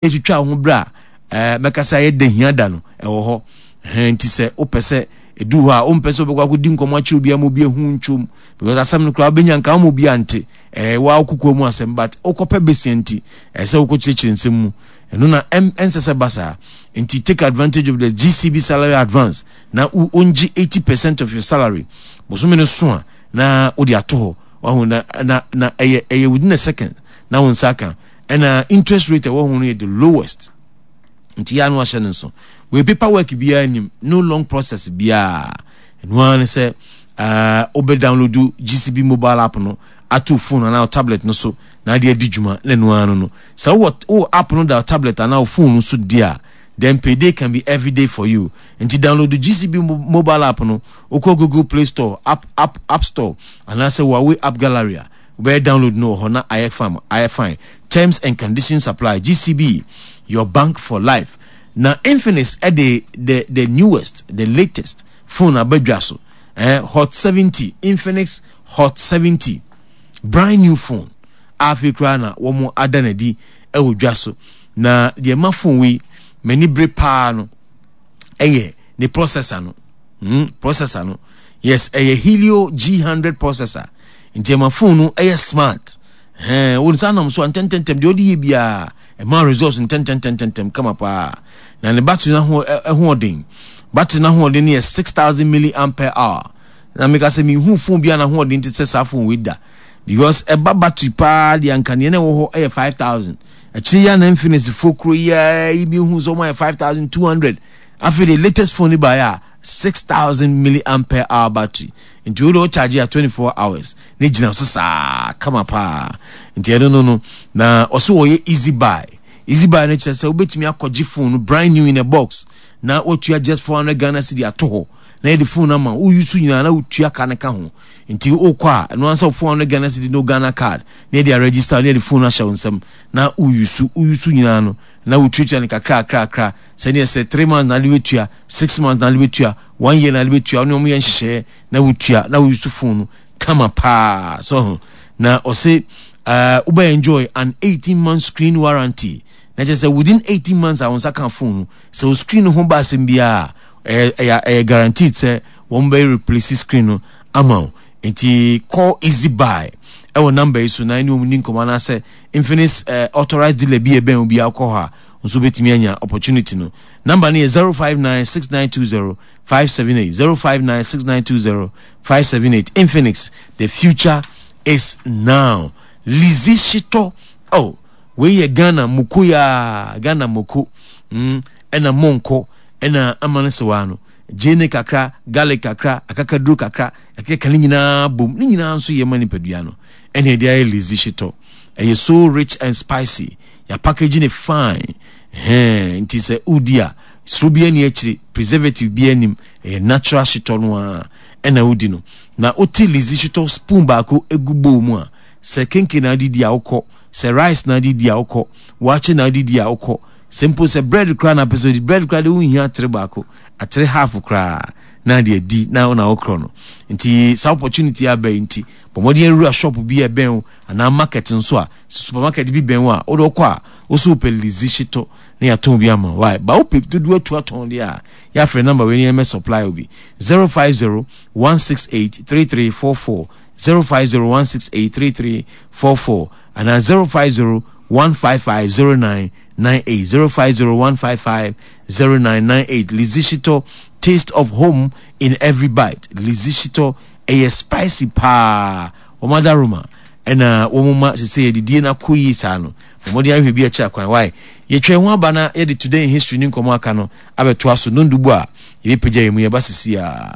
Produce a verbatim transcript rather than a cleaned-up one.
Ɛtwitwa wo ho berɛ a ɛɛ mɛkasa yɛ da hia da no ɛwɔ hɔ ɛhɛn. Nti sɛ wopɛ sɛ ɛdu hɔ a, wompɛ sɛ wobɛkɔ akɔdi nkɔmmɔ akyerɛ obi ama obi ahu ntwom, because asɛm no koraa wobɛnya nka woma obi ante ɛɛ waa kokoa mu asɛm, but wokɔpɛ besia nti ɛɛ sɛ wokɔkyerɛkyerɛ nsɛm mu. Ɛno na ɛnsɛ sɛ ba saa. Nti take advantage of the G C B salary advance na wongye eighty percent of your salary bosome no so a na wode ato hɔ. Wahu na na na ɛyɛ ɛyɛ within a second na wo nsa aka, ɛna interest rate ɛwɔ ho no yɛ the lowest. Nti yɛ ano ahyɛ no nso wei, paper work biara nim, no long process biara. Ɛno ara ne sɛ uh, wobɛ download G C B mobile app no ato phone anaa tablet no so na ade adi dwuma, na ɛno ara no no sɛ wowɔ wowɔ app no da tablet anaa phone no so di a, then payday can be every day for you. Nti download G C B mobile app no. Wokɔ Google Play Store, app app app Store anaasɛ Huawei App Gallery a, wobɛyɛ download no wɔ hɔ na ayɛ fine, ayɛ fine. Terms and conditions apply. G C B, your bank for life. Na Infinix ɛde the the newest, the latest phone abadwa so, eh, Hot seventy. Infinix Hot seventy, brand new phone afei koraa na wɔn ada n'adi ɛwɔ dwa so. Na deɛ ɛma phone wei m'ani bere paa no ɛyɛ ne processor no mm, processor no, yes, ɛyɛ Helio G hundred processor. Nti ɛma phone no ɛyɛ smart. Ɛn wɔn nsa nam so a ntɛntɛntɛm deɛ ɔde yɛ biara ɛma results ntɛntɛntɛntɛm kama paa. Na ne battery no ho ɛhoɔden, battery no ahoɔden no yɛ six thousand milliampere hour. Na meka sɛ mihu phone bi a n'ahoɔden te sɛ saa phone wei da, because ɛba battery paa deɛ anka nea na ɛwɔ hɔ ɛyɛ five thousand. Akyire yi a na Infinix fo kuro yi a yi mi hu sɛ wɔn ayɛ five thousand two hundred. Afei the latest phone ni ba yɛ a six thousand milliampere hour battery. Nti o de o charge a twenty four hours ne gyina so saa kama paa. Nti ɛno no no na ɔso wɔyɛ easy buy. Easy buy no kyerɛ sɛ wobɛtumi akɔgye phone no brand new in a box na watua just four hundred Ghana cedi ato hɔ na yɛde phone ama wo use nyinaa na wotua ka ne ka ho. Nti wokɔ a, ɛno ansa four hundred Ghana cedi no Ghana Card na yɛde aregister na yɛde phone ahyɛ wo nsam na wouse wouse nyinaa no na wotuatua no kakra kakra kakra, sɛdeɛ sɛ three months na ade bɛtua, six months na ade bɛtua, one year na ade bɛtua, ɔne ɔmo yɛ nhyehyɛeɛ na wotua na wouse phone no kama paa so ho. Na ɔse uh, wobɛ enjoy an eighteen month screen warranty, na kyerɛ sɛ within eighteen months a wɔn nsa ka phone no, sɛ o screen no ho ba asɛm biara, ɛyɛ ɛyɛ ɛyɛ guaranteed sɛ wɔn bɛ replace screen no ama wo. Nti call Easy Buy ɛwɔ number yi so na ɛne wɔn ni nkɔmɔ, anaasɛ Infinix uh, authorized dealer bi ɛbɛn obi akɔ hɔ a nso bɛtumi anya opportunity no. Number no yɛ zero five nine six nine two zero five seven eight, zero five nine six nine two zero five seven eight. Infinix, the future is now. Lizzy Shitɔ, oh, wei yɛ Ghana moko yaa, Ghana moko mm, ɛna monkɔ ɛna ama no sewa no gyeene kakra, garlic kakra, akakaduro kakra, ɛkeka ne nyinaa bom. Ne nyinaa nso yɛ ma nipadua no, ɛna ɛde ayɛ Lizzy Shitɔ. Ɛyɛ so rich and spicy, yɛ package ne fine hɛn. Nti sɛ wodi a, soro bi ani akyire, preservative bi anim, ɛyɛ natural shitɔ no a ɛna wodi no. Na wote Lizzy Shitɔ spoon baako egu bowl mu a, sɛ kenke na adi di a wokɔ, sɛ rice na adi di a wokɔ, waakye na adi di a wokɔ, sɛ mpo sɛ bread koraa na apɛ sɛ odi bread koraa de, wohia atere baako, atere half koraa na ade adi na wona wokorɔ no. Nti saa opportunity aba yi nti, bɔ mmɔden awura shop bi a ɛbɛn wo anaa market nso a supermarket bi bɛn wo a wode wokɔ a, wo so wopɛ Lizzy Shitɔ na yɛatɔn bi ama wo. Ba wopɛ dodoɔ atu atɔn deɛ a, yɛafrɛ number wei ne yɛmɛ supply wo bi: zero five zero one six eight three three four four, zero five zero one six eight three three four four anaa zero five zero one five five zero nine nine eight, zero five zero one five five zero nine nine eight. Lizzy Shitɔ, taste of home in every bite. Lizzy Shitɔ ɛyɛ spicy paa. Wɔn adaroma ɛna wɔn ma sese yɛdidie no akɔ yie saa no. Wɔn de ahwɛ bi akyɛ akwan wae. Yɛtwa ho aba na yɛde today in history ne nkɔmɔ aka no abɛtoa so nondubu a yɛbɛpagya yɛn mu yɛba sisi a.